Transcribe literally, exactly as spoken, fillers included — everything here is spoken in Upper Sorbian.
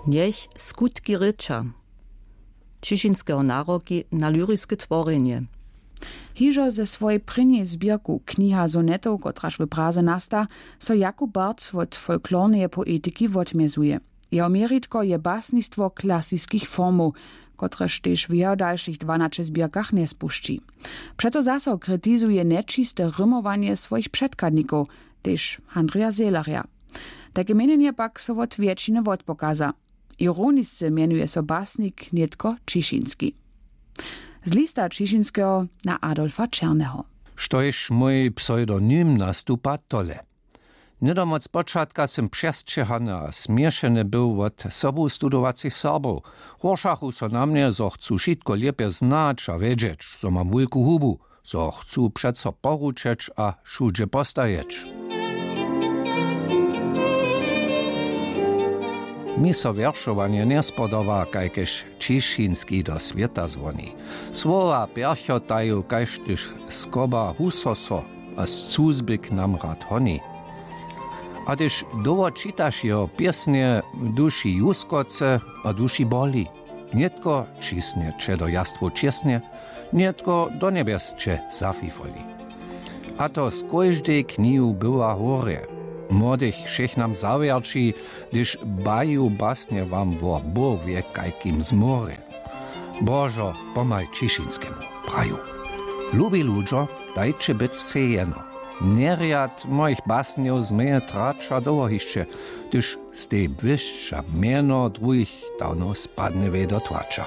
Njech skutki rěča. Ćišinskeho naroki na lyriske tworjenje. Hižo ze swojej prěnjej zběrku Kniha sonetow, kotraž w Praze nasta, so Jakub Barth wot folklorneje poetiki wotmjezuje. Jeho měritko je basnistwo klasiskich formow, kotrež tež w jeho dalšich dwanaće zběrkach njespušći. Přeco zaso kritizuje nječiste rymowanje swojich předchadnikow, tež Handrija Zehlerja. Tajke měnjenje pak so wot wjetšiny wotpokaza. Ironisce mjenuje so basnik nětko Ćišinski. Z lista Ćišinskeho na Adolfa Černeho. Štož mój pseudonym nastupa tole. Hnydom wot spočatka sym přesćěhany a směšeny był wot sobu studowacych Serbow. Hóršachu so na mnje, zo chcu wšitko lěpje znać a wědźeć, zo mam wulku hubu, zo chcu přeco poručeć a wšudźe postajeć. Mi so wjeršowanje njespodoba, kajkež Ćišinski do swěta zwoni. Słowa pjerchotaju, kaž hdyž skoba husoso a z cuzby k nam rad honi. A hdyž dołho čitaš jeho pěsnje, w duši juskoce a duši boli. Nětko ćisnje će do jastwow čěsnje, nětko do njebjes će zafifoli. A to z kóždej knihu bywa horje. Młodych wšěch nam zawjerći, hdyž baju basnje wam wo Bóh wě kajkim zmorje. Božo, pomhaj Ćišinskemu, praju. Lubi ludźo, dajće być wsej jeno. Njerjad mojich basnjow změje trać a dołho hišće, hdyž stej błyšća mjeno druhich dawno spadnje wej do tłaća.